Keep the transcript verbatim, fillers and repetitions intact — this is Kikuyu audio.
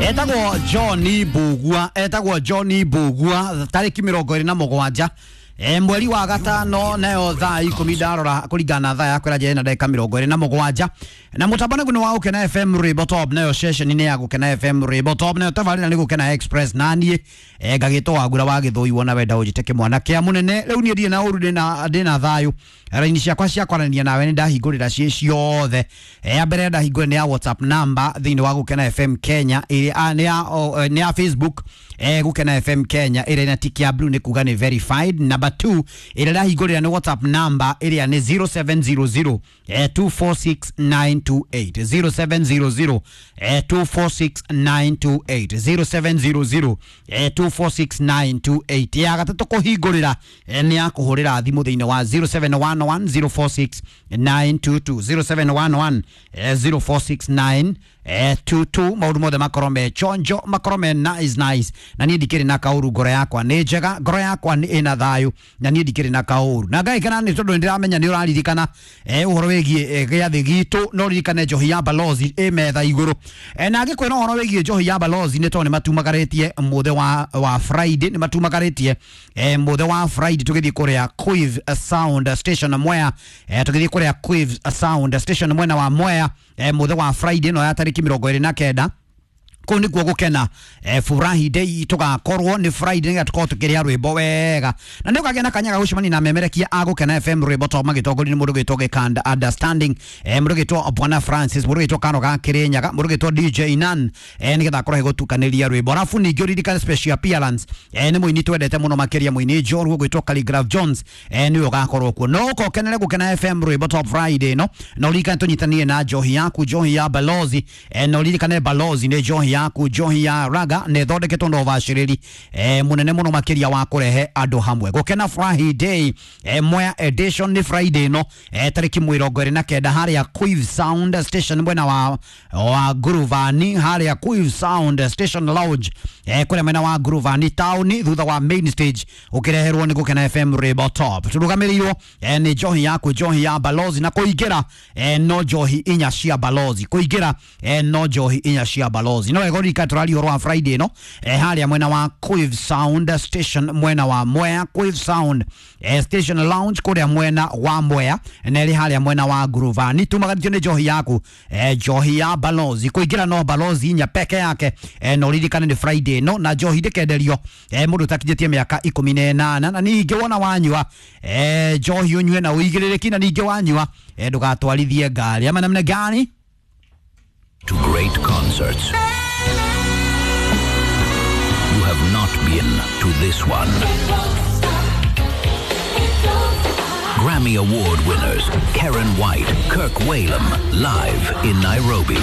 Etagwo John Bugua, etagwo John Bugua tariki mirongo iri na mugwanja e mweri wa gatano nayo thaa ikumi ndarora kuringana na thaa yakwa ĩrĩa na ndagĩka mĩrongo ĩrĩ na mũgwanja na mũtambo nĩguo nĩ wa Gũkena F M Rwĩmbo Top nayo session nĩ ya Gũkena F M Rwĩmbo Top nayo tabarĩra nĩ Gũkena Express naniĩ e ngagĩtwo Wagura wa Gĩthũi wona wenda ũnjĩte kĩmwana kĩa mũnene rĩu niĩ ndirĩ na ũru ndĩna ndĩna thayũ raini ciakwa cia kwaranĩria nawe nĩ ndahingũrĩra ciĩ ciothe. E, ya mbere ndahingũrĩra nĩ ya WhatsApp number thĩinĩ wa Gũkena F M Kenya ĩrĩa nĩ ya nĩ ya Facebook e Gũkena F M Kenya ĩrĩa ĩna tick ya blue nĩ kuga nĩ verified. Number two ĩrĩa ndahingũrĩra nĩ WhatsApp number ĩrĩa nĩ zero seven zero zero two four six nine two eight zero seven zero zero two four six nine two eight zero seven zero zero two four six nine two eight. Ya gatatũ kũhingũrĩra nĩ ya kũhũrĩra thimũ thĩinĩ wa zero seven one one zero four six nine two two zero seven one one zero four six nine two two. Maũndũ mothe makorwo me chonjo, makorwo me nice nice, na niĩ ndikĩrĩ na kaũru, ngoro yakwa nĩ njega, ngoro yakwa nĩ ĩna thayũ, na niĩ ndikĩrĩ na kaũru na ngai kana nĩ tondũ nĩndĩramenya nĩ ũraririkana eh ũhoro wĩgiĩ gĩathĩ gitũ no ririkane njohi ya Balozi ĩ metha igũrũ. eh na ngĩkwĩra ũhoro wĩgiĩ njohi ya Balozi nĩ tondũ nĩ matumagarĩtie mũthĩ wa wa Friday, nĩ matumagarĩtie eh mũthĩ wa Friday tũgĩthiĩ kũrĩa Quiv Sound Station Mwea, eh tũgĩthiĩ kũrĩa Quiv Sound Station mwena wa Mwea eh mũthĩ wa Friday no ya tarĩki mĩrongo ĩrĩ na kenda kuu nikuo gukena eh, furahi day tugakorwo ni Friday nĩgetha tukorwo tukĩrĩa rwĩmbo wega na nĩ ũkagĩa na kanya ga gũcemania na memerekia a Gũkena F M Rwĩmbo Top magĩtongorio nĩ mũndũ ũgĩtwo Gĩkanda Understanding, eh, mũndũ ũgĩtwo Bwana Francis, mũndũ ũgĩtwo Kano ga Kĩrĩnyaga, mũndũ ũgĩtwo D J Nan eh, nĩgetha akorwo agĩgũtukanĩria rwĩmbo. Arabu ningĩ ũririkane special appearance eh, nĩ mũini twendete mũno makĩria mũini njorua ũgwĩtwo Khaligraph Jones eh, nĩwe ũgakorwo kuo. No ũka ũkenere Gũkena F M Rwĩmbo Top Friday no na ũririkane tũnyitanie na njohi yaku, njohi ya Balozi eh, na ũririkane Balozi nĩ njohi yaku, njohi ya raga nä thondeketwo na ũbacĩrĩri eh, munene muno makiria wa kurehe andu hamwe. Gũkena Friday eh, Mwea edition ni Friday no eh, tariki mĩrongo ĩrĩ na kenda harĩa Quiv Sound Station mwena wa wa Guruvani, harĩa Quiv Sound Station Lounge eh, kũrĩa mwena wa Guruvani town thutha wa main stage ũkĩreherwo nĩ Gũkena F M Rwĩmbo Top. Tũrũgamĩrĩirwo eh, nĩ njohi yaku, njohi ya Balozi na kũingĩra eh, no njohi inya cia Balozi, kũingĩra eh, no njohi inya cia Balozi. No egorika tũraria ũhoro wa Friday no eh, harĩa mwena wa Quiv Sound Station mwena wa Mwea, Quiv Sound eh, Station Lounge kũrĩa mwena wa Mwea na ĩrĩ harĩa mwena wa Guruvani. Tumagarĩtio nĩ njohi yaku eh, njohi ya Balozi, kũingĩra no Balozi inya peke yake eh, no ririkane nĩ Friday no na njohi ndĩkenderio eh, mũndũ ũtakinyĩtie mĩaka ikũmi na ĩnana na ningĩ wona wanyua eh, njohi ũnyue na ũigĩrĩrĩki na ningĩ wanyua eh, ndũgatwarithie ngari ama namna gani. To great concerts. You have not been to this one. Grammy Award winners Karen White, Kirk Whalum, live in Nairobi.